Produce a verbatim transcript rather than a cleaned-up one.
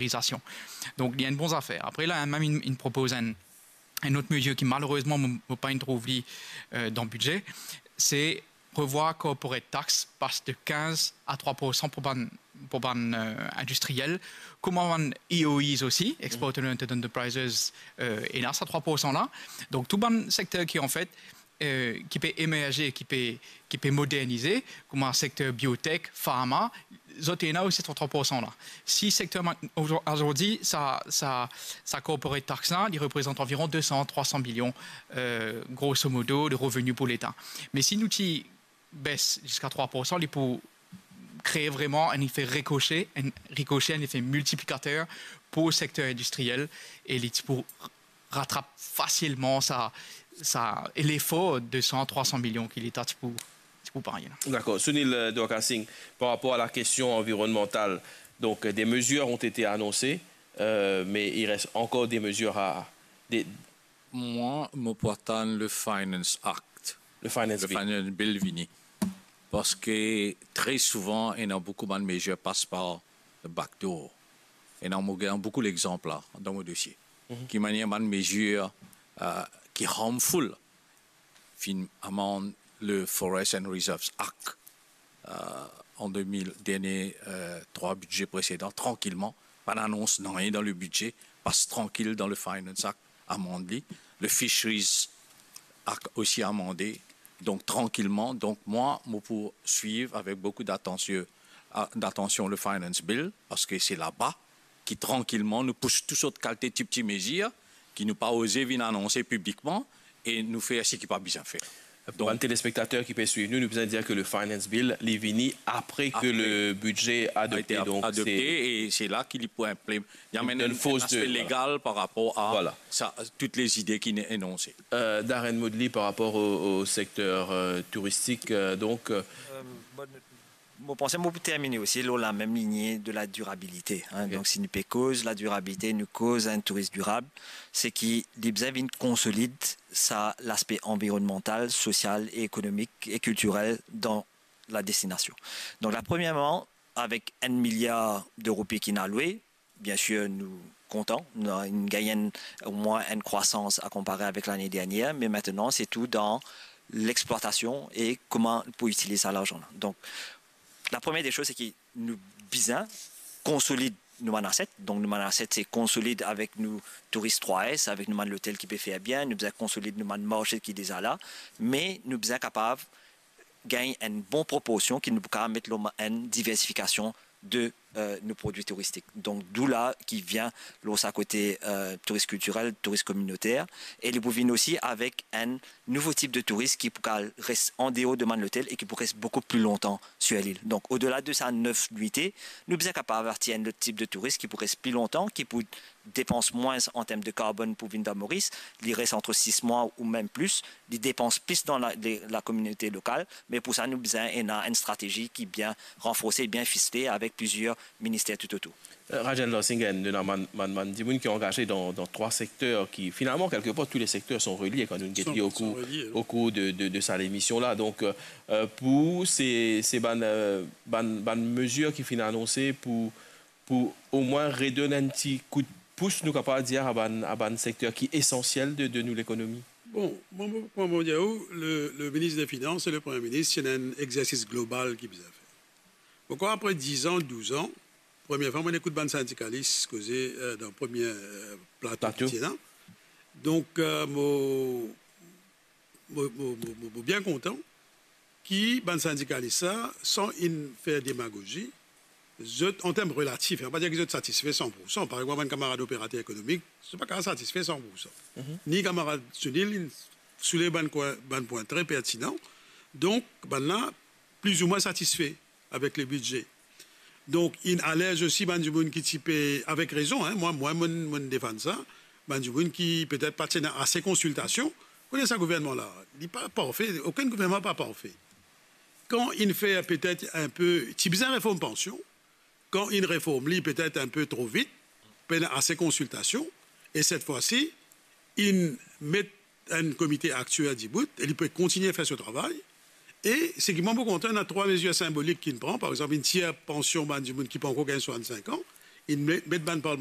revalorizasyon. Donk, li enn bon zafer. Apre, la, mem inn, inn propoz enn, enn lot mezir ki, malerezman, mo, mo pa inn trouv li, euh, dan bidze, se revwar corporate tax, pas de kinz a trwa poursan pou bann, pou bann, euh, indistriyel, kouma bann E O Es osi, Export Oriented Enterprises, euh, ena sa trwa poursan la. Donk, tou bann sekter ki, anfet, euh, ki pe emerze, ki pe, ki pe modernize, kouma sekter biotech, farma, zot ena osi sa trwa poursan la. Si sekter ma-, ozor-, azordi, sa, sa, sa corporate tax la, li reprezant anviron de san, trwa san milion, euh, grosso modo, de reveni pou Leta. Me si nou ti bes ziska trwa poursan, li pou kree vreman enn efe rikose, enn rikose, enn efe miltiplikater pou sekter indistriyel, e li ti pou ratrap fasilman sa, sa, lefor de san, trwa san milion ki Leta ti pou, ti pou parye la. Dakor. Sunil, euh, Dorkasing, par rapor a la kestion anvironnmantal, donk, euh, des mesures ont été annoncées, euh, mais il reste encore des mesures à, des Mwa, mo pou atann le Finance Act. Le Finance Bill. Le Finance Bill vini. Parski tre souvan, ena boukou bann mezir pas par the back door. Ena, mo gagn boukou lexanp la, dan mo dosie. Mhm. Ki manier bann mezir, euh, ki harmful, finn amand le Forest and Reserves Act, euh, an de mil, dernie, euh, trwa bidze presedan, trankilman, pa anons nanye dan le bidze, pas trankil dan le Finance Act, amand li. Le Fisheries Act osi amande, donk trankilman. Donk mwa, mo pou swiv avek boukou datansion, a, datansion le Finance Bill, parski se laba ki trankilman nou pous tou sort kalite ti, ti mezir ki nou pa oze vinn anonse piblikman e nou fer seki pa bizin fer. Donk, bann telespektater ki pe swiv nou, nou bizin dir ke le Finance Bill, li vini apre ke le bidze adopte. Apre. Donk, adopte, se e se la ki li pou inplim-, li amenn enn, enn aspe legal par rapor a sa, tout lezide ki inn enonse. Euh, Darren Moodley, par rapor o, o sekter, euh, touristik, euh, donk, euh, Euh, bon, Mo panse mo pou termine osi lor lamem linie de la dirabilite, hein. Ok. Donk, si nou pe koz la dirabilite, nou koz enn touris dirab, seki li bizin vinn konsolid sa laspe anvironnmantal, sosial, ekonomik e kiltirel dan la destinasion. Donk, la, premierman, avek enn miliar de roupi ki inn alwe, biensir, nou kontan, nou, nou gagn enn, omwin enn krwasans a konpare avek lane dernier, me aster, se tou dan lexplwatasion e kouma pou itiliz sa larzan la. Donk, la premie de soz, seki nou bizin konsolid nou bann aset. Donk, nou bann aset, se konsolid avek nou touris trwa S, avek nou bann lotel ki pe fer bien, nou bizin konsolid nou bann marse ki deza la, me nou bizin kapav gagn enn bon proporsion ki nou pou kapav met lor enn diversifikasion de, euh, nou prodwi touristik. Donk, d'où la ki vinn lor sa kote, euh, touris kiltirel, touris kominoter, e li pou vinn osi avek enn nouvo tip de touris ki pou kapav res an deor de bann lotel e ki pou res boukou pli lontan sir lil. Donk, odela de sa nef nwite, nou bizin kapav atir enn lot tip de touris ki pou res pli lontan, ki pou depans mwins an term de karbonn pou vinn dan Moris, li res ant sis mwa ou mem plis, li depans plis dan la, le, lakominote lokal, me pou sa, nou bizin ena enn stratezi ki bien ranforse, bien fisle avek plizier minister toutotour. Euh, Rajendra Singh, ena bann, bann, bann dimoun ki angaze dan, dan trwa sekter ki, finalman, kelkepar, tou le sekter sont reliés kan nou get li o kour, o kour de, de, de sa lemision la. Donk, euh, euh, pou se, se bann, euh, bann, bann mezir ki finn anonse pou pou omwin redonn enn ti kout pous, nou kapav dir, a bann, a bann sekter ki esansiel de, de nou lekonomi? Bon, mwa, mwa, mwa, mo dir ou, le, le minis de Finans e le Premie Minis, ti ena enn exersis global ki bizin fer. Mo krwar apre diz an, douz an, premie fwa mo ekout bann sindikalis koze, euh, dan premie, euh, plato ki ti ena. Donk, euh, mo, mo, mo, mo, mo, mo bien kontan ki bann sindikalis la, san inn fer demagozi, zot, an term relatif, an pa dir ki zot satisfe san poursan. Par exanp, bann kamarad operater ekonomik, zot pa kapav satisfe san poursan. Mhm. Ni kamarad Sunil, inn soulve bann pwin, bann pwin tre pertinan. Donk, bann la, plizoumwin satisfe avek le bidze. Donk, inn alerz osi bann dimoun ki ti pe, avek rezon, hein, mwa, mwa, mo'nn, mo'nn defann sa, bann dimoun ki petet pa ti ena ase konsiltasion. Kone sa gouvernman la, li pa parfe, okenn gouvernman pa parfe. Kan inn fer petet enpe, ti bizin reform pansion, kan inn reform li petet enpe tro vit, pena ase konsiltasion, e set fwa si, inn met enn komite aktier dibout, e li pe kontigne fer so travay. E seki mwa mo kontan, ena trwa mezir sinbolik ki inn pran, par exanp, inn tir pansion bann dimoun ki pankor gagn swasannsenk an, Inn met, met bann